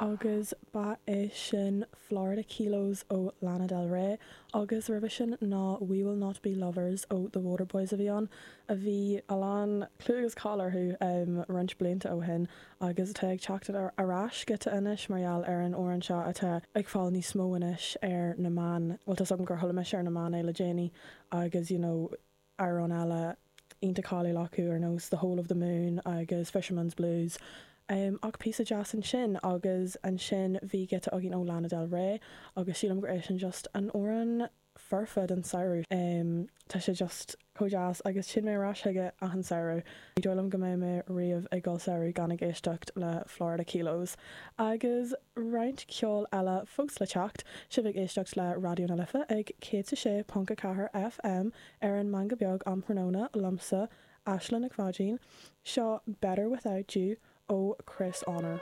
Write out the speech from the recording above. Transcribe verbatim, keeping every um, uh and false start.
Agus ba é sin Florida Kilos ó Lana Del Rey agus roimhe sin ná We Will Not Be Lovers ó The Waterboys a bhí ann, a bhí a lán clú agus cáil orthu um, roinnt blianta ó shin agus atá ag teacht ar ais giota anois mar gheall ar an amhrán seo atá ag fáil níos mó anois ar na meáin, bhuel tá agam gur chuala mise ar na meáin é le déanaí agus you know, amhrán eile iontach cáiliúil acu ar nós The Whole of the Moon agus Fisherman's Blues. Um, ach píosa deas ansin agus ansin bhí giota againn ó Lana Del Rey agus sílim gur é sin just an amhrán foirfe den samhradh. Um, tá sé just chomh deas agus sin mé arís chuige achan samhradh. Ní dóigh liom go mbeidh mé riamh ag dul samhradh gan ag éisteacht le Florida Kilos. Agus roinnt ceol eile fós le teacht, sibh ag éisteacht le Raidió na Life ag céad sé ponc a ceathair FM ar an Meangadh Beag um thráthnóna liomsa Aisling Nic Pháidín, seo Better Without You ó Chris Honor.